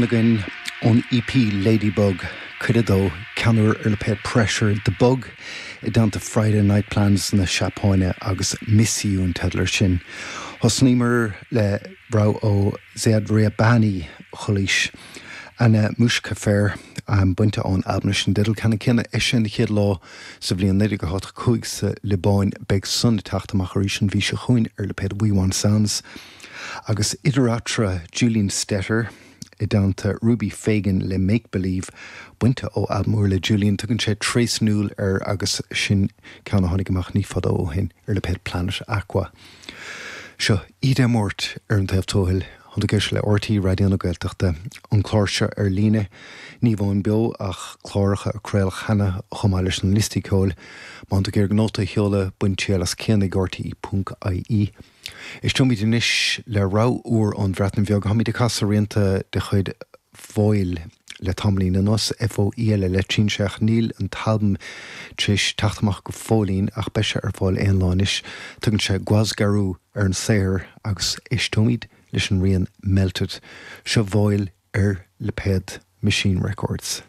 Againn ón EP Ladybug, cuid a dó, ceann úr ar lipéad Pressure, The Bug i dteannta Friday Night Plans na Seapáine agus Miss You an teideal ar sin. Thosnaíomar le rogha ó Ziad Rahbani Chulaois, Ana Mouch Kafer, bainte ón albam leis an dteideal ceannann céanna, eisithe an chéad lá sa bhliain 1985 sa Liobáin. Beidh san ag teacht amach arís an mhí seo chugainn ar lipéad We Want Sounds. Agus idir eatarthu, Julian Stetter i dteannta Ruby Fagan le Make Believe, bainte ó albam úr le Julian, tugann sé Trasnúil air agus sin ceann a tháinig amach ní fada ó shin ar lipéad Planet Aqua. Seo Íde Mort ar an taobh tuathail, Tá tú ag éisteacht le RTÉ Raidió na Gaeltachta, an clár seo ar líne, ní amháin beo ach cláracha a craoladh cheana chomh maith leis na liostaí ceoil. Má tá tú ag iarraidh nóta a sheoladh, bain triail as cian@rte.ie. Éisteoimid anois le rogha úr ón Bhreatain Bheag. Táimid ag casadh rianta de chuid Foel le tamaillín anuas, F-O-E-L-L le trinse ach níl an t-albam tar éis teacht amach go fóillín ach beidh sé ar fáil aon lá anois. Tugann sé Gwasgaru ar an saothar agus éisteoimid leis an rian Melted. Seo Foel ar lipéad Machine Records.